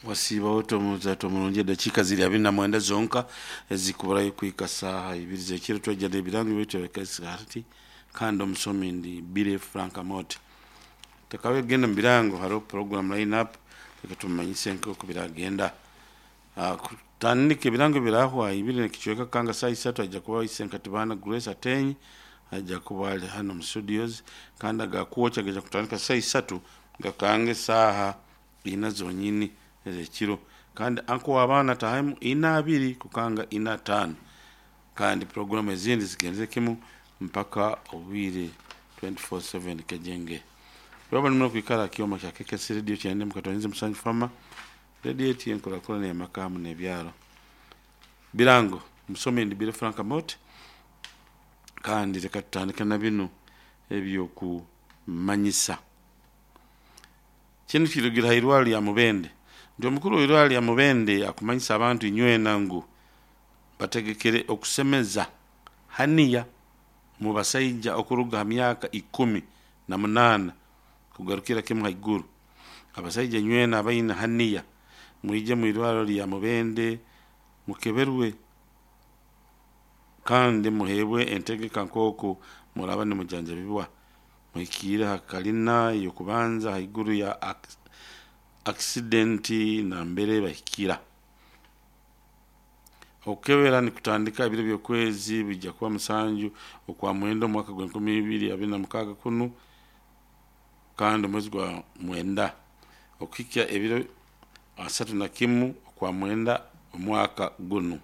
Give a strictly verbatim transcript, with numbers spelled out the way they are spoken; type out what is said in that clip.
Wasiibaho omuzato omurungi, edakiika ziri abiri na mwenda zonka ezikuburayo kuhika saaha ibiri z'ekiro. Twajja n'ebirango byaitu ebikaisi kandi omusomi ndi Billy Frank Amooti. Tekabe genda mu birango, hariho program line up, reka tumumanyise nk'oku biragenda. Ah, kutandika ebirango birahwa ibiri nekicweka kanga saa isatu ajja kuba Isenkatibana Grace Atenyi ajja kuba ali hano mu studios, kandi agakwokya gaija kutandika saa isatu gakange saaha ina zonyini ez'ekiro, kandi anko w'abaana atahemu ina abiri kukanga ina ataano, kandi programu ezindi zigendere kimu mpaka obwire twenty-four seven kejenge. Rwaba nimwe kwikara kyoma kya K K C Radio kyende mukatonyeze musanju fama radio eti enkurakurana y'amaka hamu n'ebyaro. Birango, musome ndi Billy Frank Amooti, kandi reka tutandike na binu ebyokumanyisa. Kinu kirugira ha irwaro lya Mubende nti omukuru w'irwaro lya Mubende akumanyisa abantu inywena ngu bategekere okusemeza haniya mu basaija okuruga ha myaka ikumi na munaana kugarukira kimu haiguru. Abasaija inywena abaine haniya mwije mu irwaro lya Mubende mukeberwe kandi muheebwe entegeka nk'oku muraba nimujanjabibwa. Muhikiire ha kalina y'okubanza haiguru ya accident nambere bahikira. Okukebera nikutandika ebiro by'okwezi bijja kuba musanju okwa mwenda omwaka gw'enkumi ibiri abiri na mukaaga kunu, kandi omwezi gwa mwenda okuhikya ebiro asatu na kimu okwa mwenda omwaka gunu.